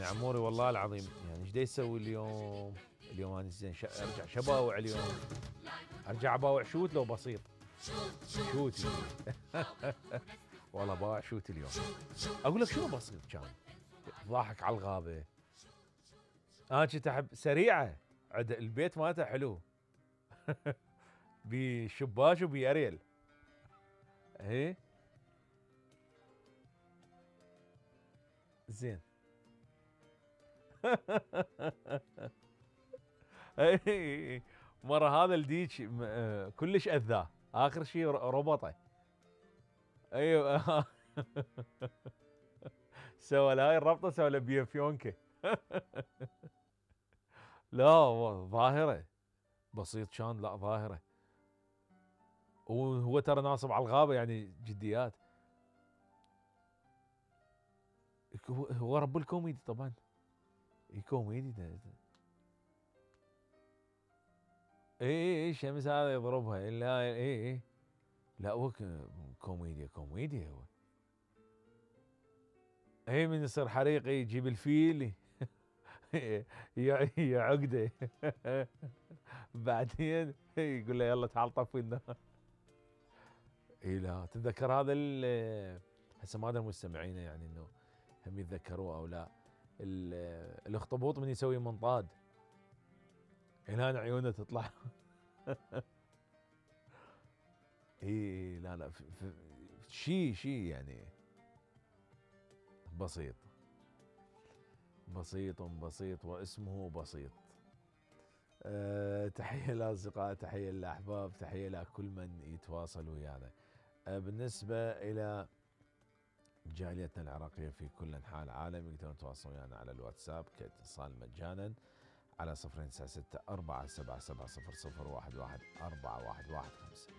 يعني عموري والله العظيم يعني ايش دا يسوي اليوم؟ اليوم انا زين ارجع شباوع اليوم، ارجع اباوع شوت لو بسيط. شوت والله باوع شوت اليوم. اقول لك شنو بسيط كان؟ ضاحك على الغابه. انا كنت احب سريعه، عند البيت مالته حلو. بشباك وبيريل. ايه زين. اي مره هذا الديك كلش اذاه، اخر شيء ربطه. ايوه. سوى له هاي الربطه، سوى له بيفيونكه. لا ظاهره بسيط كان، لا ظاهره. وهو ترى ناصب على الغابه يعني جديات. هو رب الكوميدي طبعا. كوميدي ده. اي شمس هذا يضربها لا اي. لا هو كوميديا هو. اي من يصير حريق يجيب الفيل. يا عقده. بعدين يقول له يلا تعال طفي النار. اي لا تتذكر هذا هسه ما ادري مستمعينه يعني انه هم يتذكروه او لا. الاخطبوط من يسوي منطاد هنا عيونه تطلع. اي لا شيء يعني بسيط. بسيط واسمه بسيط. تحية للأصدقاء، تحية للأحباب، تحية لكل من يتواصل ويانا. بالنسبة إلى جاليتنا العراقية في كل أنحاء العالم يقدرون يتواصلون ويانا على الواتساب كاتصال مجانا على 096 477 0011 4115.